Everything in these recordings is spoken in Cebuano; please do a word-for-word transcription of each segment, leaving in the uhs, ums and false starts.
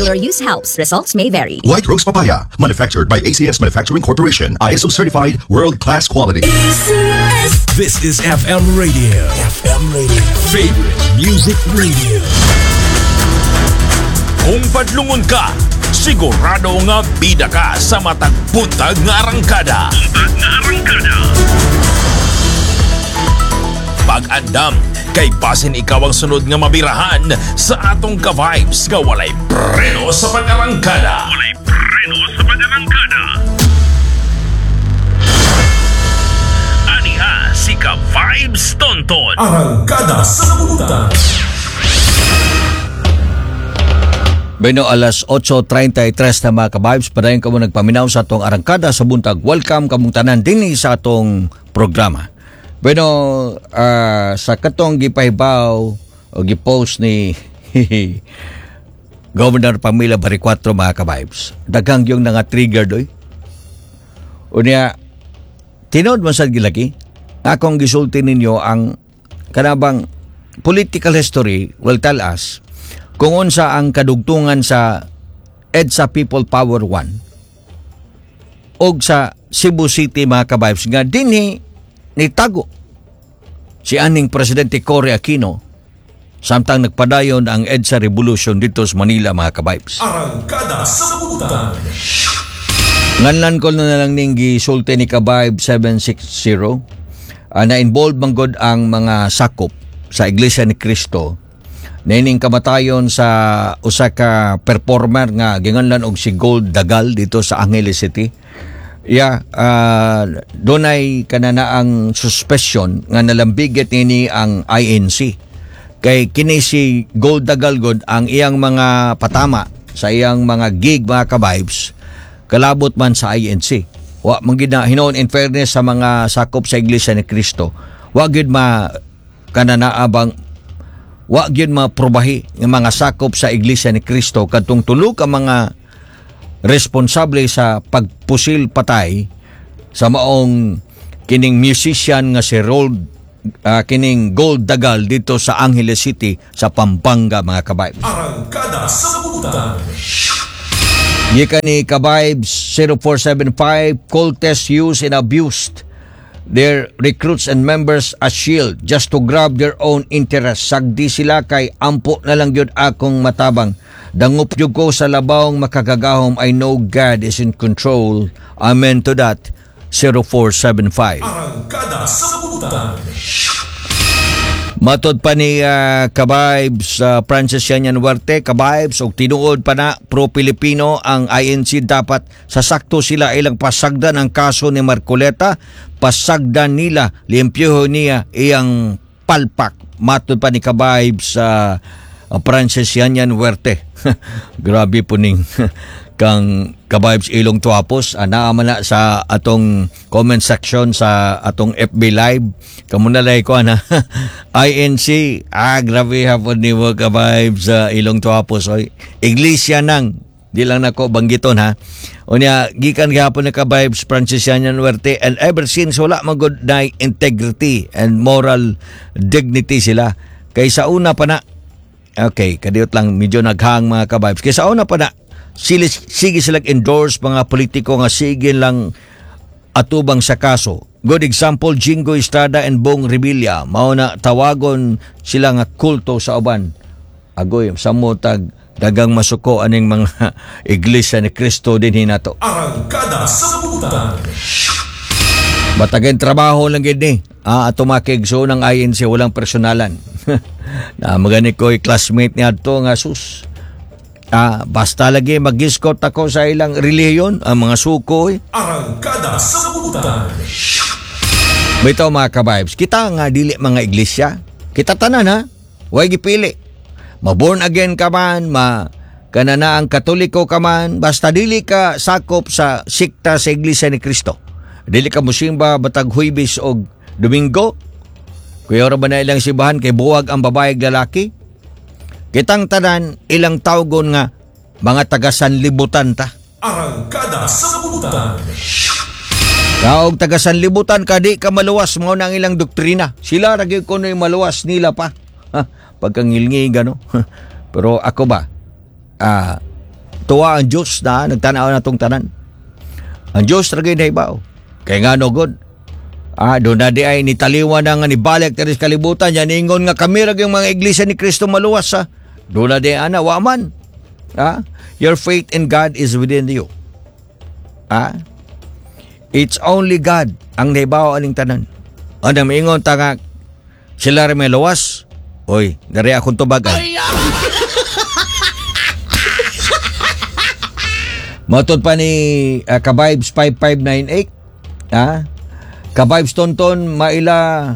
Regular use helps. Results may vary. White Rose Papaya, manufactured by A C S Manufacturing Corporation, I S O certified, world-class quality. This is F M Radio. F M Radio. Favorite Music Radio. Kung padlungon ka, sigurado nga bida ka sa matag buntag nga arangkada. Buntag nga arangkada. Pag-andam, kay basin ikaw ang sunod nga mabirahan sa atong ka-vibes nga walay preno sa pag-arangkada. Walay preno sa pag-arangkada. Aniha si Ka-Vibes Tonton. Arangkada sa Buntag. Bueno, alas otso treinta y tres na, mga ka-vibes, padayon kamo nagpaminaw sa atong Arangkada sa Buntag. Welcome kamong tanan dinhi sa atong programa. Bueno, ah, sa katong gipahibaw o gipost ni Governor Pamela Baricuatro, mga ka-vibes, daghang yung nga trigger doy. Unya, tinuod man sad gilaki, akong gisulti ninyo ang kanabang political history will tell us kung unsa ang kadugtungan sa EDSA People Power one og sa Cebu City, mga ka-vibes, nga dinhi nitago si aning Presidente Cory Aquino samtang nagpadayon ang EDSA Revolution dito sa Manila, mga ka-vibes. Arangkada sa Buntag. Nganlan ko na lang ning gisulti ni Kabayb seven six zero uh, na involved man gud ang mga sakop sa Iglesia ni Cristo niining kamatayon sa usa ka performer nga ginganlan og si Gold Dagal dito sa Angeles City. Yeah, uh, dunay kanana ang suspicion nga nalambigit nini ang I N C. Kay kini si Gold Dagal gud, ang iyang mga patama sa iyang mga gig, mga ka-vibes, kalabot man sa I N C. Wa man gid na hinuon, in fairness sa mga sakop sa Iglesia ni Cristo, wa gid ma kananaabang wa gyud maprobahi ng mga sakop sa Iglesia ni Cristo kadtong tulo ka mga responsable sa pagpusil patay sa maong kining musician nga si Rold ah, kining Gold Dagal dito sa Angeles City sa Pampanga, mga ka-vibes. Arangkada sa Buntag. Gikan ni Kabibes zero four seven five, cultists use and abused their recruits and members as shield just to grab their own interest. Sagdi sila kay ampo na lang gyud akong matabang. Dangop gyud ko sa labawng makagagahom. I know God is in control. Amen to that. zero four seven five. Arangkada sa Buntag. Matod pa ni uh, Kabibes uh, Francis Yanyan Huerte, Kabibes, og tinuod pa na pro-Pilipino ang I N C, dapat sa sakto sila ilang pasagdan ang kaso ni Marcoleta, pasagdan nila, limpyuho niya iyang palpak. Matod pa ni Kabibes uh, Francis Yanyan Huerte. Grabe po ning kang Kabibes Ilong Tuapos, ana man na sa atong comment section sa atong F B Live. Kamo na lay ko ana I N C. Ah, grabe hapon nimo, Kabibes uh, Ilong Tuapos, oy. Iglesia nang di lang nako banggiton ha. Unya gikan gihapon ni Kabibes Francis Yanyan Huerte, and ever since wala man gud na integrity and moral dignity sila kay sa una pa na. Okay, kadiyot lang, medyo naghang, mga kabibes. Kay sa una pa na, sili, sige sila endorse mga politiko nga sige lang atubang sa kaso. Good example, Jinggoy Estrada and Bong Revilla. Mao na tawagon sila nga kulto sa uban. Agoy, samo tag dagang masuko aning mga Iglesia ni Cristo din hinato. Arangkada sa Buntag. Batagin trabaho lang gid ni. Ah, ato makigso ng I N C, walang personalan. Na magani ko classmate ni adto nga sus. Ah, basta lagi mag-escort ako sa ilang relihiyon, ang mga suko eh. Arangkada sa Buntag. Bitaw, mga kabibes, kita nga dili mga iglesia, kita tanan ha, way gipili. Ma-born again ka man, ma kanana ang Katoliko ka man, basta dili ka sakop sa sikta sa Iglesia ni Cristo. Dili ka musimba batag Huwebes og Domingo. Kuya ba na ilang simbahan kay buwag ang babae ug lalaki? Kitang tanan ilang tawgon nga mga taga sanlibutan ta. Arangkada sa Buntag. Kaog taga sanlibutan ka, di ka maluwas, mao na ang ilang doktrina. Sila ra gyud kuno'y maluwas nila pa. Ha, pagkangilngi gano. Pero ako ba ah Tuwa ang Diyos na nagtanaw na tong tanan. Ang Diyos ra gyud nahibaw. Kay ngano gud? Ah, doon na di ay nitaliwan na nga ni balik diri sa kalibutan yan ingon nga kami ra gyud mga iglesia ni Kristo maluwas sa. Doon na di ana wa man. Ah, your faith in God is within you. Ah, it's only God ang nahibaw aning tanan. Ano miingon ta nga sila ra may luwas. Oy, dari akong tubag ay. Matod pa ni uh, Kabibes five five nine eight. Ha? Kabibes Tonton, maila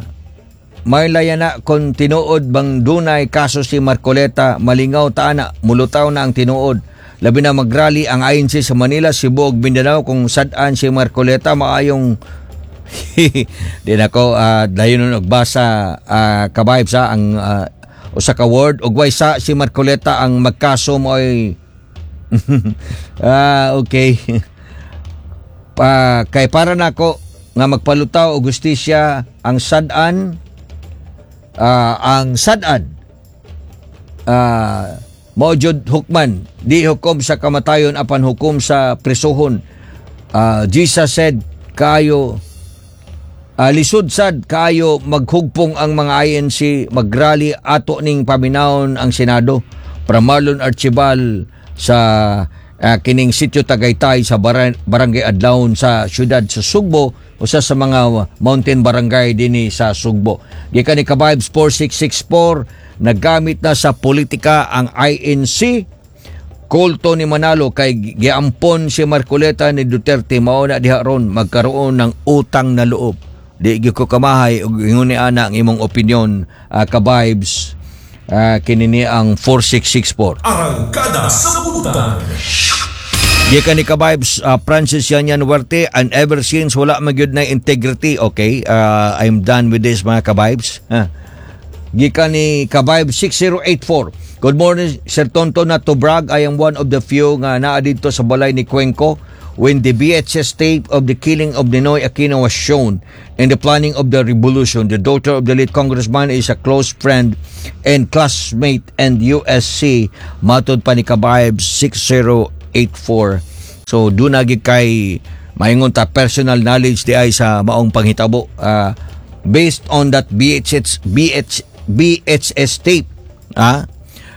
maila yan na kung tinuod bang dunay kaso si Marcoleta, malingaw ta na, mulutaw na ang tinuod. Labi na magrally ang I N C sa Manila, Cebu ug Mindanao kung sad-an si Marcoleta maayong di na ko uh, dayon nun og basa uh, Kabibes ha, ang uh, usa ka word ug way sa si Marcoleta ang magkaso mo ay ah, okay. Pa, kay para nako nga magpalutaw og hustisya ang sad-an uh, ang sad-an uh, mao jud hukman di hukom sa kamatayon apan hukom sa presohon. Uh, Jesus said kayo uh, lisod sad kayo maghugpong ang mga I N C magrally ato ning paminawon ang Senado. Para Marlon Archibald sa uh, kining sitio Tagaytay sa barang, barangay Adlaon sa siyudad sa Sugbo, usa sa mga mountain barangay dinhi sa Sugbo. Gikan ni Kabibes four six six four, nagamit na sa politika ang I N C. Kulto ni Manalo kay giampon si Marcoleta ni Duterte mao na diha ron magkaroon ng utang na loob. Di gyud ko kamahay og ingon ni ana ang imong opinion, uh, Kabibes. Uh, kini ni ang four six six four. Arangkada sa butan. Gikan ni Kabibes uh, Francis Yanyan Huerte, and ever since wala magyud na integrity. Okay, uh, I'm done with this mga Kabibes. Huh. Gikan ni Kabibes six zero eight four. Good morning Sir Tonton, not to brag, I am one of the few nga naa didto sa balay ni Cuenco when the V H S tape of the killing of Ninoy Aquino was shown and the planning of the revolution. The daughter of the late congressman is a close friend and classmate and U S C. Matod pa ni Kabibes six zero eight four. So doon na gid kay maingon ta personal knowledge di ay sa maong panghitabo uh, based on that B H S, B H, V H S tape ah,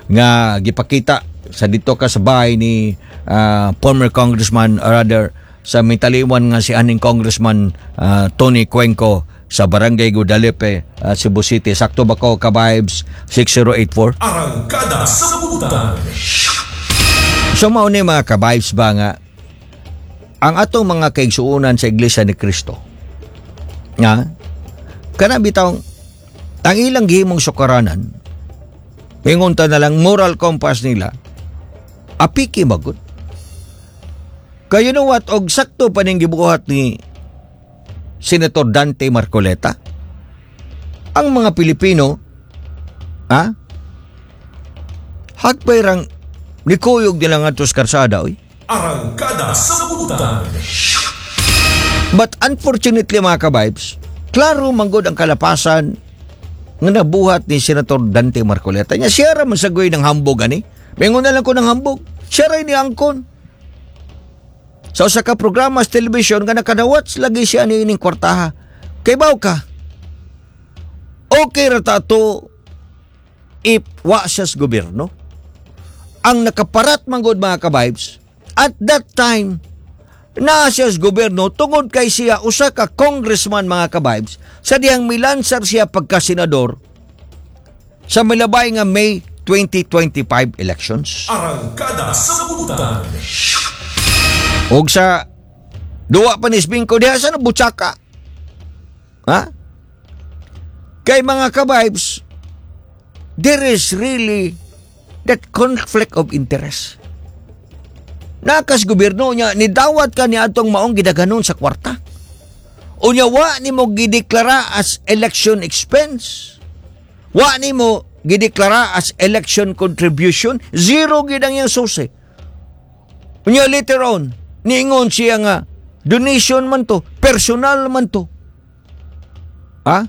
nga gipakita sa dito ka sa bahay ni uh, former congressman, or rather sa mitaliwan nga si aning congressman uh, Tony Cuenco sa Barangay Guadalupe, uh, Cebu City. Sakto ba ko Kabibes six zero eight four? Arangkada sa butan. So mao ni mga Kabibes ba nga ang atong mga kaigsuonan sa Iglesia ni Cristo nga kana bitaw ang ilang gihimong sukaranan, ingon ta na lang moral compass nila apiki magud. Kayo know what, og sakto pa ning gibuhat ni Senator Dante Marcoleta, ang mga Pilipino ha hagpay rang nikuyog nila ngadto sa karsada oy. Arangkada sa butan. But unfortunately mga kabibes, klaro manggod ang kalapasan nga nabuhat ni Senator Dante Marcoleta. Nya siya ra man sagoy ng hambog ani. Mengon na lang ko ng hambog. Siya ra ni angkon. Sa usa ka programa sa television nga nakadawat lagi siya ni ining kwartaha. Kay baw ka. Okay ra ta to if wa siya sa gobyerno. Ang nakaparat manggod mga kabibes, at that time naa siya sa gobyerno tungod kay siya usa ka congressman mga kabibes sa dihang milansar siya pagka-senador sa milabay nga May twenty twenty-five elections. Arangkada sa butan. Og sa duwa pa ni Sbingko diha sa nabutsaka. Ha? Kay mga kabibes, there is really that conflict of interest. Nakas gobyerno niya, nidawat ka ni atong maong gidaganon sa kwarta. Unya wa nimo gideklara as election expense. Wa nimo gideklara as election contribution. Zero gid ang iyang susi. Unya later on, niingon siya nga donation man to, personal man to. Ha?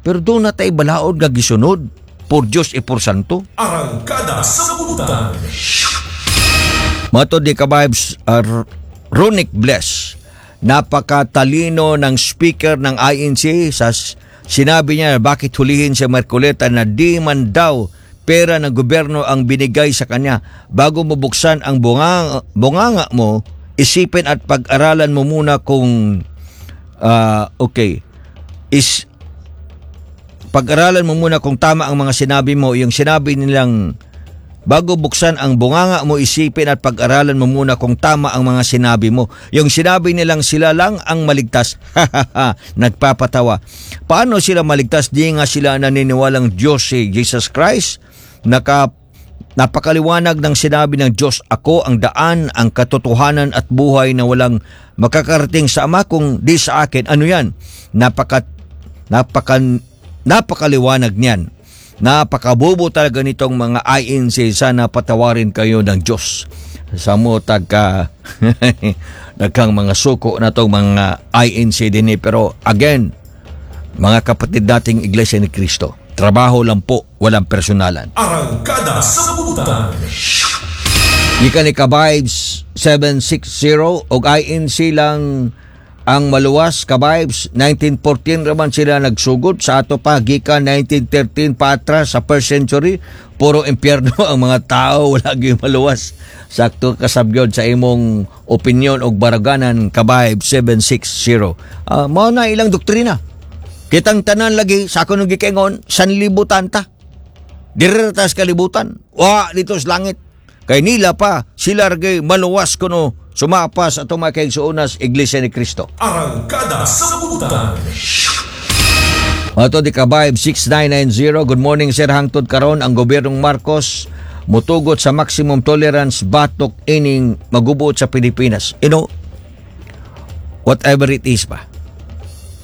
Pero doon na tayo balaod nga gisunod por Diyos e por Santo. Arangkada sa butan. Matod ni Kabibes uh, Ronic Bless, napakatalino ng speaker ng I N C sa sinabi niya bakit hulihin si Marcoleta na di man daw pera ng gobyerno ang binigay sa kanya. Bago mo buksan ang bunganga, bunganga mo, isipin at pag-aralan mo muna kung ah, okay is pag-aralan mo muna kung tama ang mga sinabi mo. Yung sinabi nilang bago buksan ang bunganga mo, isipin at pag-aralan mo muna kung tama ang mga sinabi mo. Yung sinabi nilang sila lang ang maligtas, nagpapatawa. Paano sila maligtas? Di nga sila naniniwalang Diyos si Jesus Christ. Naka, napakaliwanag ng sinabi ng Diyos, "Ako ang daan, ang katotohanan at buhay na walang makakarating sa Ama kung di sa akin." Ano yan? Napaka, napaka, napakaliwanag niyan. Napakabobo talaga nitong mga I N C. Sana patawarin kayo ng Diyos. Sa mo tagka daghang mga suko na tong mga I N C din eh. Pero again, mga kapatid nating Iglesia ni Cristo, trabaho lang po, walang personalan. Arangkada sa Butan. Gikan ni Kabibes seven six zero, og I N C lang ang maluwas, Kabibes, nineteen fourteen raman sila nagsugod. Sa ato pa, gikan nineteen thirteen paatras sa first century, puro impyerno ang mga tao, wala gyud maluwas. Sakto kasabgyod sa imong opinion og baraganan, Kabibes seven six zero. Uh, mao na ilang doktrina. Kitang tanan lagi sa ako nung gikengon, sanlibutan ta. Diri ta sa kalibutan. Wa dito sa langit. Kay nila pa sila ra gyud maluwas kuno sumapas atong mga kaigsuonan Iglesia ni Cristo. Arangkada sa Butan. Ato di Kabayb six nine nine zero. Good morning, sir. Hangtod karon ang gobyernong Marcos mutugot sa maximum tolerance, batok ining magubot sa Pilipinas. You know, whatever it is ba?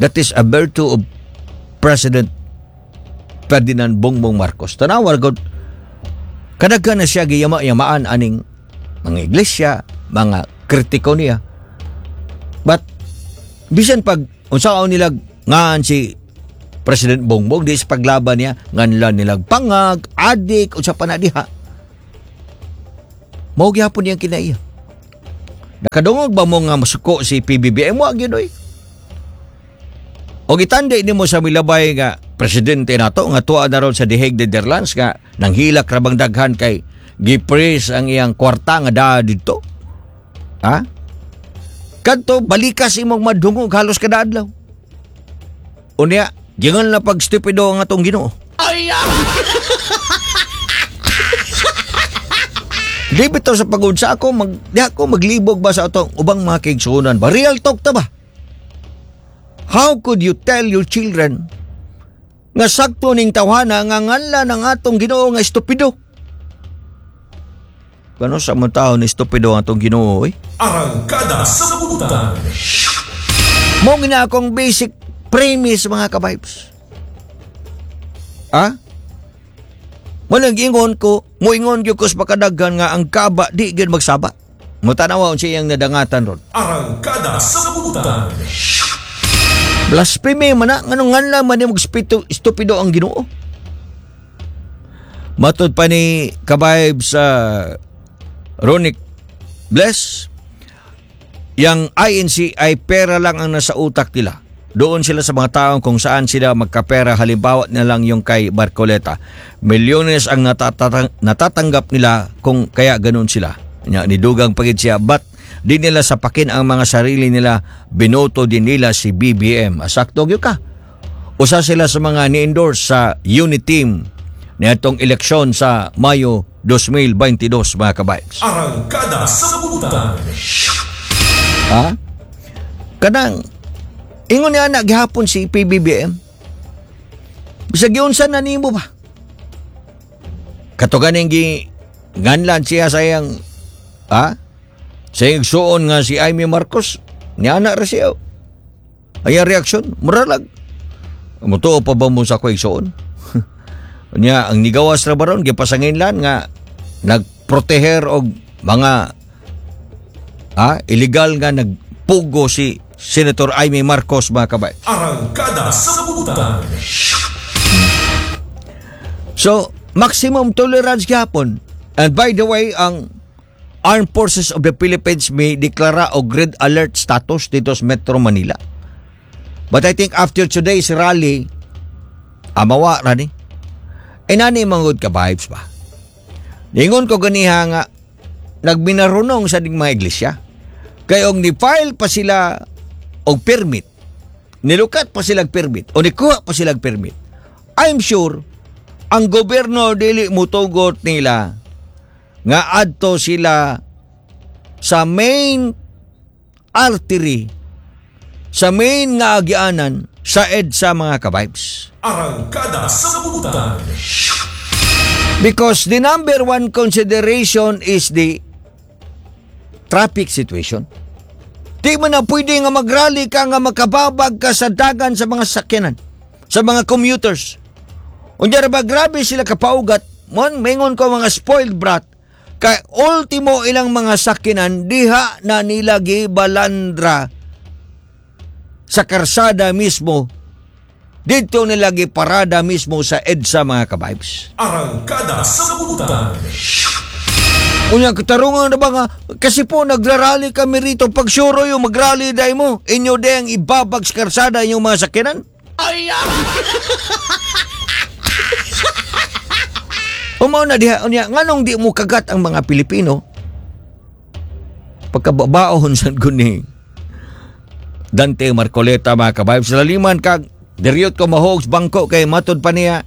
That is a virtue of President Ferdinand Bongbong Marcos. Tanawa gud, kadaghan na siya giyama-yamaan aning mga iglesia, mga kritiko niya. But bisan pag unsaon nila ngaan si President Bongbong di sa paglaban niya, nganlan nilang pangag, adik, unsa pa na diha. Mao gyapon niyang kinaiya. Nakadungog ba mo nga masuko si P B B M? Wa gyud oy. O gitandi nimo sa milabay nga presidente nato nga tuwa na ron sa The Hague, Netherlands, nga nanghilak ra bang daghan kay gi-freeze ang iyang kwarta nga daa didto. Ha? Kadto balikas imong madungog halos kada adlaw. Unya, gingon na pag stupido ang atong Ginoo. Ay! Di bitaw sa pagod sa ako, mag, di ako maglibog ba sa atong ubang mga kaigsuonan ba? Real talk ta ba? How could you tell your children nga sakto ning tawhana nga nganla ng atong Ginoo nga estupido? Kano sa mga tao ni estupido ang atong Ginoo eh? Arangkada sa Butan. Mo gina akong basic premise, mga kabibes. Ha? Mo ingon ko, moingon gyud ko sa makadaghan nga ang kaba di gyud magsaba. Mutanaw unsa iyang nadangatan ron. Arangkada sa Butan. Blasphemy man na, nganong nganla man ni magspito estupido ang Ginoo. Matod pa ni Kabayb sa Ronic Bless, yang I N C ay pera lang ang nasa utak nila. Doon sila sa mga taong kung saan sila magkapera, halimbawa na lang yung kay Marcoleta. Milyones ang natatang- natatanggap nila kung kaya ganun sila. Nya, nidugang pagid siya, but di nila sapakin ang mga sarili nila, binoto din nila si B B M. Asakto gyud ka. Usa sila sa mga ni-endorse sa Uniteam niadtong eleksyon sa Mayo twenty twenty-two, mga kabibes. Arangkada sa Butan. Ha? Kanang ingon niya na gihapon si P B B M. Bisag giunsa na nimo ba? Kato ganing gi nganlan siya sa iyang, ha? Sa iyang igsuon nga si Imee Marcos, niya na ra siya. Ay, ang reaksyon, muralag. Mutuo pa ba mo sa ako igsuon? Niya, ang nigawas ra baron, gipasanginlan nga nagproteher og mga, ha, illegal nga nagpugo si Senator Imee Marcos, mga kabay. Arangkada sa Butan. So, maximum tolerance gyapon. And by the way, ang Armed Forces of the Philippines may deklara og red alert status dito sa Metro Manila. But I think after today's rally, amawa ra ni. E nani mangod ka vibes ba? Ningon ko ganiha nga nagminarunong sa ding mga iglesia. Kay og ni-file pa sila og permit, nilukat pa sila og permit, o nikuha pa sila og permit, I'm sure ang gobyerno dili mutugot nila nga adto sila sa main artery, sa main nga agianan sa EDSA, mga ka-vibes. Arangkada sa Butan. Because the number one consideration is the traffic situation. Di mo na pwede nga magrally ka nga makababag ka sa dagan sa mga sakyanan, sa mga commuters. Unya ra ba, grabe sila kapaugat, mon mengon ko mga spoiled brat, kay ultimo ilang mga sakyanan diha na nila gibalandra sa karsada mismo, dito nila giparada mismo sa EDSA, mga ka-vibes. Arangkada sa Butan. Unya katarungan na ba nga, kasi po nagrarally kami rito, pag sure yung magrally day mo, inyo ding ibabag sa karsada inyong mga sakyanan? Ay! Umaw na diha, unya, nganong di mo kagat ang mga Pilipino? Pagkababaon sa ko ni Dante Marcoleta, mga ka-vibes, laliman kag diryot ko mahogs bangko kay matod pa niya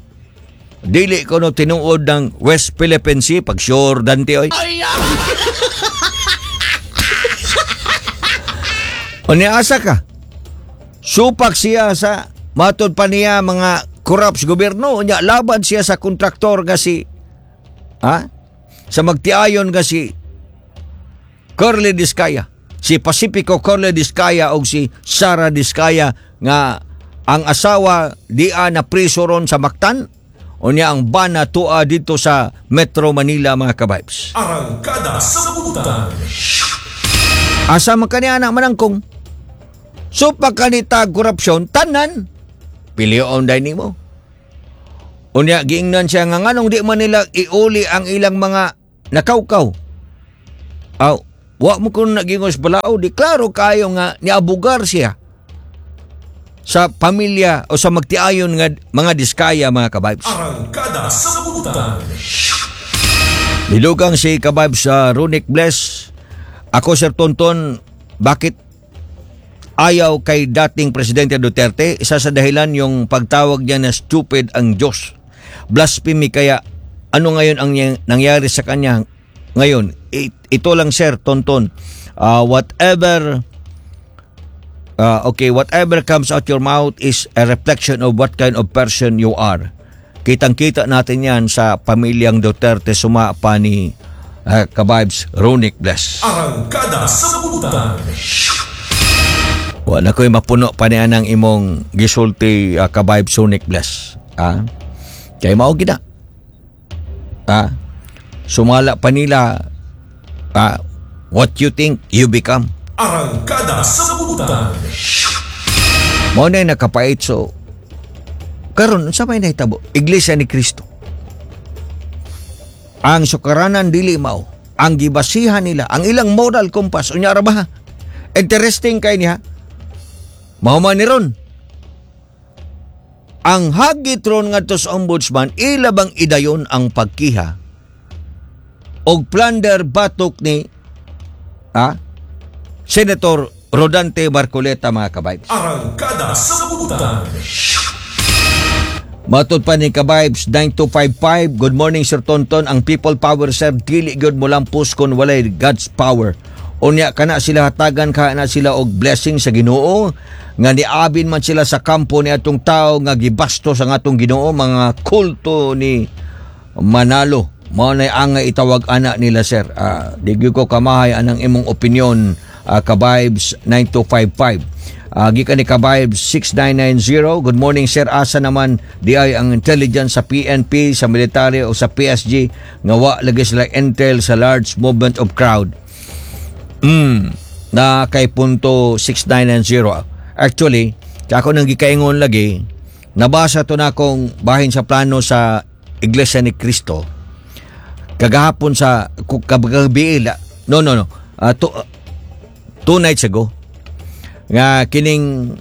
dili ko no tinuod ng West Philippine Sea pag sure Dante oy. Unya asa ka? Supak siya sa matod pa niya mga corrupt gobyerno, unya laban siya sa kontraktor nga si ha? Sa magtiayon nga si Curly Discaya, si Pacifico Curly Discaya og si Sara Discaya nga ang asawa dia na priso ron sa Mactan, unya ang bana tua dito sa Metro Manila, mga ka-vibes. Arangkada sa Butan. Asa man kani anak manangkong? So pagkanita korupsyon tanan pilion day nimo. Unya giingnan siya nga nganong di man nila iuli ang ilang mga nakawkaw. Aw, wa mo kun nagingos balao, di klaro kayo nga niabugar siya sa pamilya o sa magtiayon nga mga Diskaya, mga ka-vibes. Arangkada sa Butan. Nilugang si ka-vibes sa Runic Bless. Ako, Sir Tonton, bakit ayaw kay dating Presidente Duterte? Isa sa dahilan yung pagtawag niya na stupid ang Diyos. Blasphemy, kaya ano ngayon ang nangyari sa kanya ngayon? Ito lang, Sir Tonton. Uh, whatever uh, okay, whatever comes out your mouth is a reflection of what kind of person you are. Kitang-kita natin yan sa pamilyang Duterte, suma pa ni uh, ka-vibes Ronic Bless. Arangkada sa Butan. Wala ko'y mapuno pa niya ng imong gisulti, uh, ka-vibes Ronic Bless. Ah? Kaya mao gina. Ah? Sumala pa nila, ah, what you think, you become. Arangkada sa Butan. Mao na nakapait. So karon unsa may nahitabo? Iglesia ni Cristo. Ang sukaranan dili mao ang gibasihan nila, ang ilang moral compass. Unya ra ba? Interesting kay niya. Mao man ni ron. Ang hagit ron ngadto sa ombudsman, ila bang idayon ang pagkiha og plunder batok ni ah, Senator Rodante Marcoleta, mga ka-vibes. Arangkada sa Butan. Matod pa ni ka-vibes nine two five five, good morning Sir Tonton, ang people power sir dili gyud mo lampos kon walay God's power. Unya kana sila hatagan ka na sila og blessing sa Ginoo nga niabin man sila sa kampo ni atong tao nga gibastos ang atong Ginoo, mga kulto ni Manalo. Mao nay angay itawag ana nila sir. Uh, di gyud ko kamahay anang imong opinion, uh, ka-vibes nine two five five. Uh, gikan ni ka-vibes six nine nine zero, good morning sir, asa naman di ay ang intelligence sa P N P, sa military o sa P S G nga wa lagi sila intel sa large movement of crowd. Mm, na kay punto six nine nine zero. Actually, ako nang gikaingon lagi, nabasa to na akong bahin sa plano sa Iglesia ni Cristo kagahapon sa kagabi, No, no, no. Uh, two, uh, two nights ago nga kining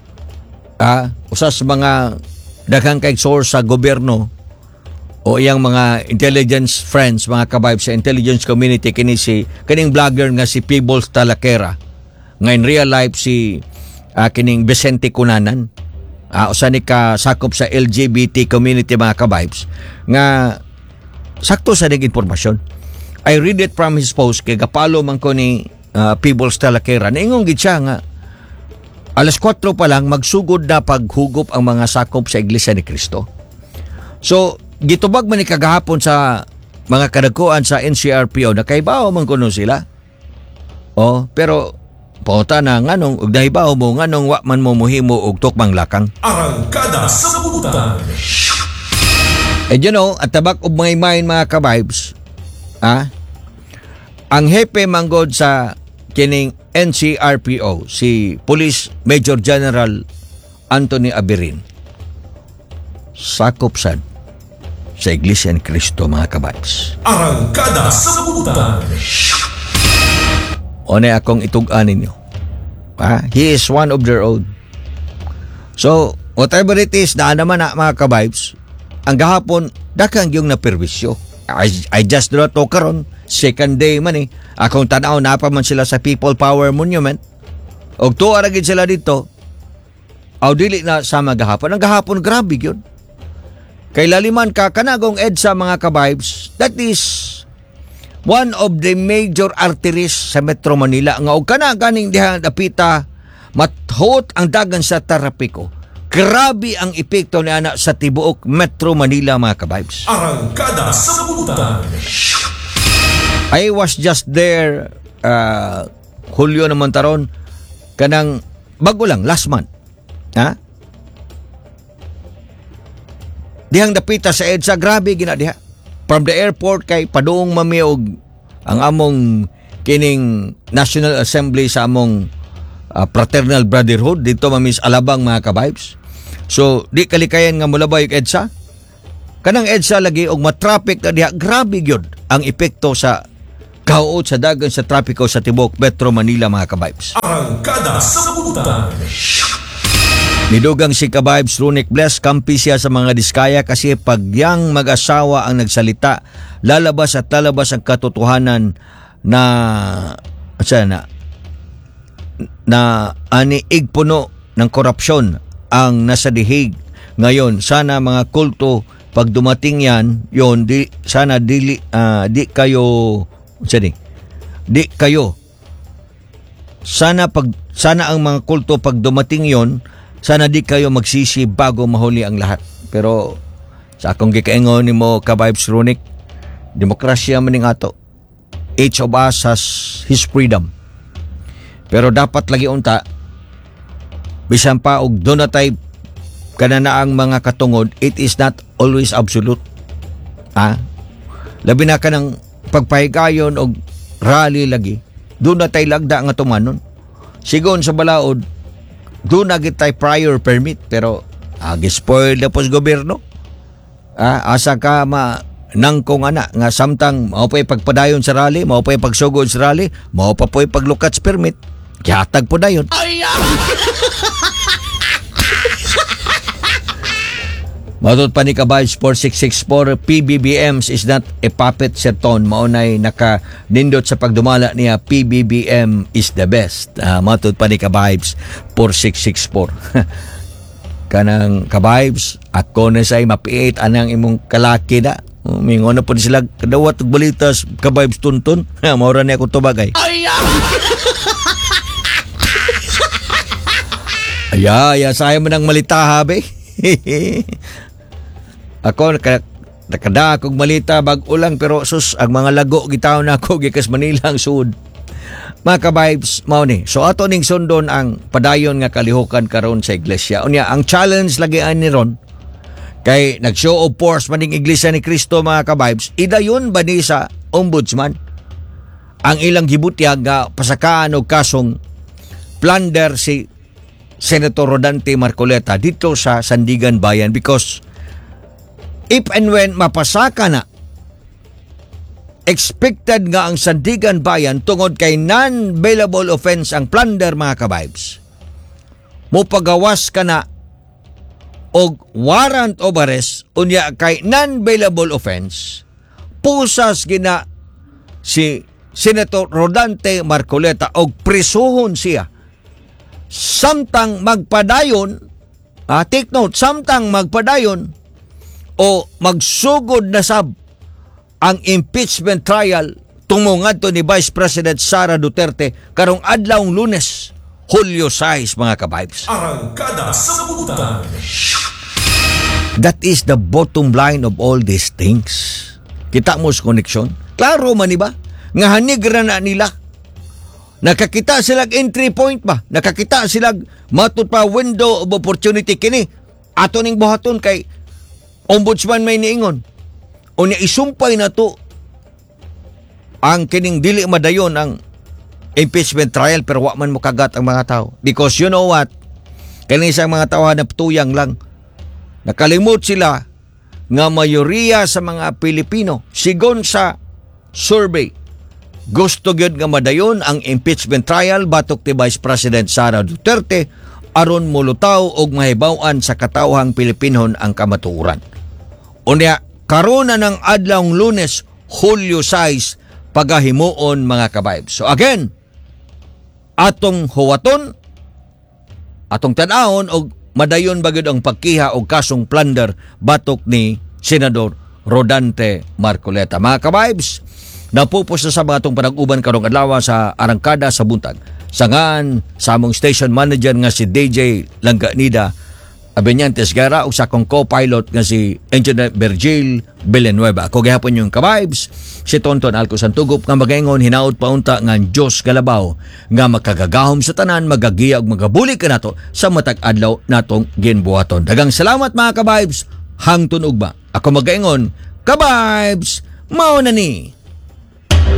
ah, usa sa mga daghang kay source sa gobyerno o iyang mga intelligence friends, mga ka-vibes sa intelligence community kini si kining vlogger nga si Peebles Talakera nga in real life si ah, kining Vicente Cunanan uh, usa ni ka sakop sa LGBT community mga ka-vibes nga sakto sa ning impormasyon I read it from his post kay gapalo man ko ni uh, Peebles Talakera niingon gid siya nga alas kwatro pa lang magsugod na paghugop ang mga sakop sa Iglesia ni Cristo. So, gitubag man ni kagahapon sa mga kadagkuan sa NCRPO na kaybaw man kuno sila. Oh, pero pauta na nganong ug nahibaw mo nganong wa man mo muhimo og tukmang lakang. Arangkada sa butang. And you know, at the back of my mind mga ka-vibes, ah, ang hepe manggod sa kining NCRPO, si Police Major General Anthony Aberin, sakop sad sa Iglesia ni Cristo mga ka-vibes. Arangkada sa butang. O na akong itug-an ninyo. Ah, he is one of their own. So, whatever it is, na naman na mga ka-vibes, ang gahapon, daghang yung naperwisyo. I, I just do not know karon second day man eh. Akong tanaw, napa man sila sa People Power Monument. Og tuwa ra gid sila dito. Aw dili na sa gahapon. Ang gahapon, grabe yun. Kay laliman ka, kanagong EDSA mga ka-vibes, that is one of the major arteries sa Metro Manila nga og kana ganing diha dapita mathuot ang dagan sa trapiko. Grabe ang epekto ni ana sa tibuok Metro Manila mga ka-vibes. Arangkada sa butang. I was just there uh, Hulyo naman taron kanang bago lang last month. Ha? Dihang dapita sa EDSA grabe gina diha. From the airport kay padung mami og ang among kining National Assembly sa among uh, Fraternal Brotherhood dito mami sa Alabang mga ka-vibes. So di kalikayan nga mulabay og EDSA. Kanang EDSA lagi og matraffic na diha grabe gyud ang epekto sa kahuot sa dagan sa trapiko sa tibuok Metro Manila mga ka-vibes. Arangkada sa butang. Nidugang si ka-vibes Runic Bless, kampi siya sa mga diskaya kasi pag yang mag-asawa ang nagsalita, lalabas at lalabas ang katotohanan na sa na na aniig puno ng korupsyon ang nasa dihig ngayon. Sana mga kulto pag dumating yan, yon di sana dili ah, di kayo unsa ni? Di kayo sana pag sana ang mga kulto pag dumating yon sana di kayo magsisi bago mahuli ang lahat. Pero sa akong gikaingon nimo ka-vibes Runic, demokrasya man ning ato. Each of us has his freedom. Pero dapat lagi unta bisan pa og doon na tay kanana ang mga katungod, it is not always absolute. Ah? Labi na ka ng pagpahigayon og rally lagi, doon na tay lagda nga tumanon. Sigon sa balaod, doon na gid tay prior permit pero ah, gi-spoil na po sa gobyerno. Ah, asa ka ma nangkong ana nga samtang mao pa'y pagpadayon sa rally, mao pa'y pagsugod sa rally, mao pa po'y paglukat sa permit. Gihatag po dayon. Matod pa ni Kabay Sport six six four, PBBMs is not a puppet serton. Maunay naka nindot sa pagdumala niya, P B B M is the best. Uh, matod pa ni Kabay four six six four. Kanang Kabay, ako na sa'y mapiit anang imong kalaki na. Mingon na po sila, kadawat og balitas, Kabay tuntun. Maura niya akong tubagay. Aya, aya, sayang mo ng malita, habi. Ako, naka, nakada akong malita, bag-o lang, pero sus, ang mga lago, gitaw na ako, gikas Manila ang sud. Mga ka-vibes, mao ni. So, ato ning sundon ang padayon nga kalihukan karon sa iglesia. Unya, ang challenge lagi ani ron, kay nag-show of force man ning Iglesia ni Cristo, mga ka-vibes, idayon ba ni sa ombudsman ang ilang gibutyag nga pasakaan og kasong plunder si Senator Rodante Marcoleta dito sa Sandigan Bayan, because if and when mapasaka na Expected nga ang Sandiganbayan, tungod kay non-bailable offense ang plunder, mga kabibes, mopagawas ka na og warrant of arrest. Unya kay non-bailable offense, pusas gina si Senator Rodante Marcoleta og prisuhon siya samtang magpadayon, ah, take note, samtang magpadayon o magsugod na sab ang impeachment trial tungo ngadto ni Vice President Sara Duterte karong adlawng Lunes, Hulyo sais, mga kabibes. Arangkada sa Buntag. That is the bottom line of all these things. Kita mo sa koneksyon? Klaro man, ba? Nga hanig ra na nila. Nakakita silang entry point ba? Nakakita silang matud pa window of opportunity kini. Ato ning buhaton kay ombudsman may niingon. Unya isumpay na to ang kining dili madayon ang impeachment trial, pero wa man mokagat ang mga tao. Because you know what? Kani sa mga tao na tuyang lang. Nakalimot sila nga mayoriya sa mga Pilipino, sigon sa survey, gusto gyud nga madayon ang impeachment trial batok ni Vice President Sara Duterte aron mulutaw og mahibaw-an sa katawhang Pilipinhon ang kamatuoran. Unya karon na ng adlawng Lunes, Hulyo sais, pagahimuon, mga kabibes. So again, atong huwaton, atong tan-awon og madayon ba gyud ang pagkiha og kasong plunder batok ni Senador Rodante Marcoleta. Mga kabibes, napupos na sa mga atong panag-uban karong adlaw sa Arangkada sa Buntag. Sa ngan sa among station manager nga si D J Langganida Abenyantes Guerra ug sa akong co-pilot nga si Engineer Virgil Villanueva. Ako gihapon inyong kabibes, si Tonton Alco Santugop, nga magaingon hinaot paunta nga ang Diyos galabaw nga makagagahom sa tanan magagiya ug magabulig kanato sa matag adlaw natong ginbuhaton. Daghang salamat, mga kabibes, hangtod ugma. Ako magaingon, kabibes, mao na ni.